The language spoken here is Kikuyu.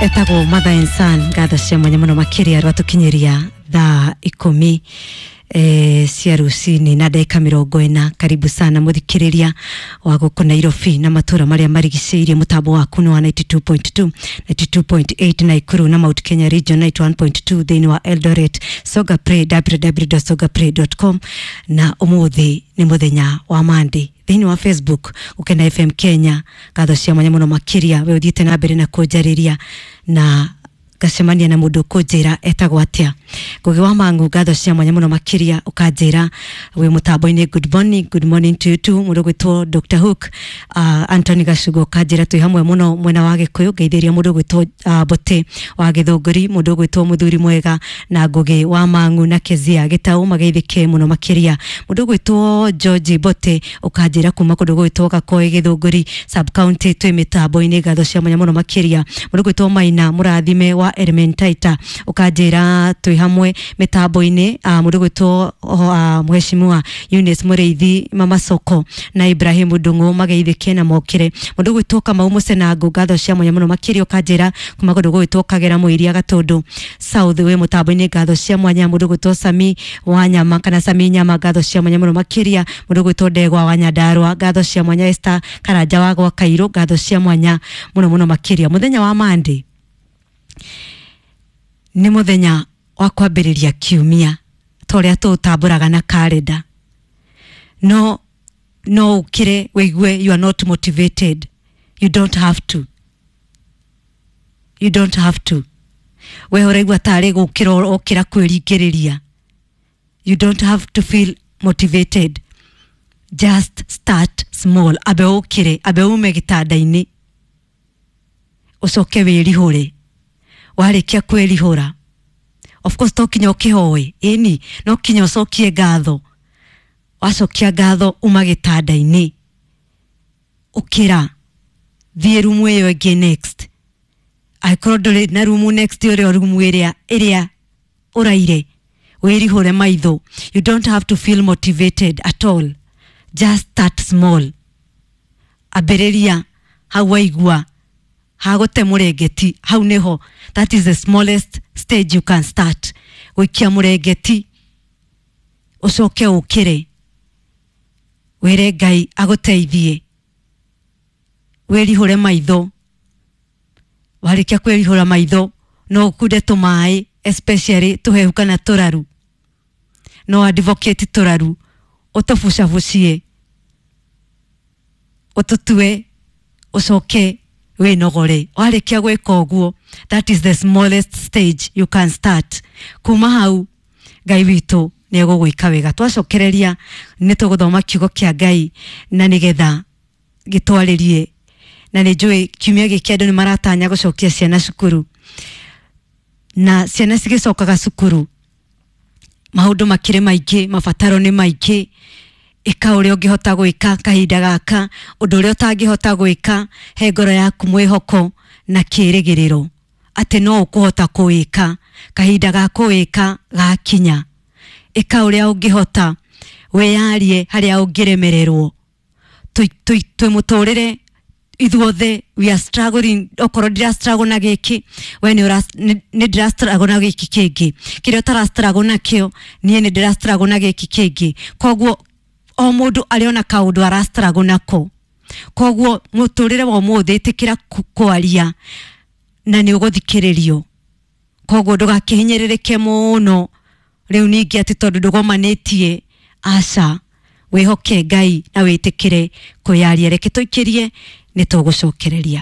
Etagwo Mother and Son. Ngatho cia mwanya muno makiria rwatukinyiria thaa 10 cia rucini na ndagika 40. Karibu sana muthikiriria wa guku Nairobi na matura maria marigiceirie. Mutambo waku ni wa 92.2, 92.8 Nakuru na Mount Kenya Region, 91.2 thiini wa Eldoret. Songa Play, www.songapray.com. Na umuthi ni muthenya wa Monday. Thiini wa Facebook, Gukena FM Kenya, ngatho cia mwanya muno makiria we uthiite na mbere na kunjariria na ngacemania na mundu kunjira etagwo atia. Ngugi wa Mangu, ngatho cia mwanya muno makiria ukanjira wi mutambo-ini. Good morning, good morning to you too. Mundu gwitwo Dr Hook, Anthony Gacugo, ukanjira twi hamwe muno mwena wa Gikuyu. Ngeithiria mundu gwitwo Mbote wa Githunguri, mundu gwitwo Muthuri Mwega na Ngugi wa Mangu na Kezia Gitau, mageithike muno makiria. Mundu gwitwo George Mbote ukanjira kuma kundu gwitwo Gakoi, Githunguri sub county, twi mitambo-ini. Ngatho cia mwanya muno makiria. Mundu gwitwo Maina Murathime wa Elementaita ukanjira twi hamwe mitambo-ini. Mundu gwitwo Mheshimiwa Eunice Mureithi, Mama Soko na Ibrahim Ndungu, mageithike na mokire. Mundu gwitwo Kamau Mucenangu, ngatho cia mwanya muno makiria ukanjira kuma kundu gwitwo Kagera Muiria, Gatundu South, wi mutambo-ini. Ngatho cia mwanya. Mundu gwitwo Sami wa Nyama kana Sami Nyama, ngatho cia mwanya muno makiria. Mundu gwitwo Ndegwa wa Nyandarua, ngatho cia mwanya. Esther Karanja wa gwa Kairu, ngatho cia mwanya muno muno makiria. Muthenya wa Monday nĩ mũthenya wa kwambĩrĩria kiumia ta ũrĩa tũũtambũraga na karenda. No no ũkĩre wĩigue you are not motivated, you don't have to, you don't have to. We ũraigua tarĩ gũkĩra ũkĩra kwĩringĩrĩria, you don't have to feel motivated, just start small. Ambe ũkĩre, ambe ume gĩtanda-inĩ, ũcoke wĩrihũre. Warĩkia kwĩrihũra, of course to kinya ũkĩhoe, ĩni no kinya ũcokie ngatho. Wacokia ngatho, uma gĩtanda-inĩ, ũkĩra, thiĩ rumu ĩyo ĩngĩ next. Angĩkorwo ndũrĩ na rumu next, ũrĩa rumu ĩrĩa ĩrĩa ũraire, wĩrihũre maitho. You don't have to feel motivated at all, just start small. Ambĩrĩria hau waigua hagũte mũrengeti, hau nĩho, that is the smallest stage you can start. Gũikia mũrengeti, ũcoke ũkĩre, wĩre Ngai agũteithie, wĩrihũre maitho. Warĩkia kwĩrihũra maitho, no ũkunde tũmaĩ, especially tũhehu kana tũraru. No advocate tũraru, ũtũbucabucie, ũtũtue, ũcoke wĩnogore. Warĩkia gwĩka ũguo, that is the smallest stage you can start. Kuma hau Ngai witũ nĩ egũgwĩka wega. Twacokereria nĩ tũgũthoma kiugo kĩa Ngai na nĩgetha gĩtwarĩrie, na nĩ njũĩ kiumia gĩkĩ andũ nĩ maratanya gũcokia ciana cukuru, na ciana cigĩcokaga cukuru maũndũ makĩrĩ maingĩ, mabataro nĩ maingĩ. Ĩka ũrĩa ũngĩhota gwĩka kahinda gaka, ũndũ ũrĩa ũtangĩhota gwĩka, he ngoro yaku mwĩhoko na kĩĩrĩgĩrĩro atĩ no ũkũhota kũwĩka kahinda ga kũwĩka gakinya. Ĩka ũrĩa ũngĩhota, wĩyarie harĩa ũngĩremererwo. Twĩ mũtũrĩre ithuothe we are struggling. Okorwo ndira struggle na gĩkĩ, we nĩ ndĩra struggle na gĩkĩ kĩngĩ. Kĩrĩa ũtara struggle nakĩo, niĩ nĩ ndĩra struggle na gĩkĩ kĩngĩ. Koguo o mũndũ arĩ ona kaũndũ ara struggle nako. Koguo mũtũrĩre wa ũmũthĩ, ĩtĩkĩra kwaria na nĩ ũgũthikĩrĩrio. Koguo ndũgakĩhinyĩrĩrĩke mũno rĩu ningĩ atĩ tondũ ndũgomanĩtie, aca. Wĩhoke Ngai na wĩtĩkĩre kwĩyaria. Reke tũikĩrie, nĩ tũgũcokereria.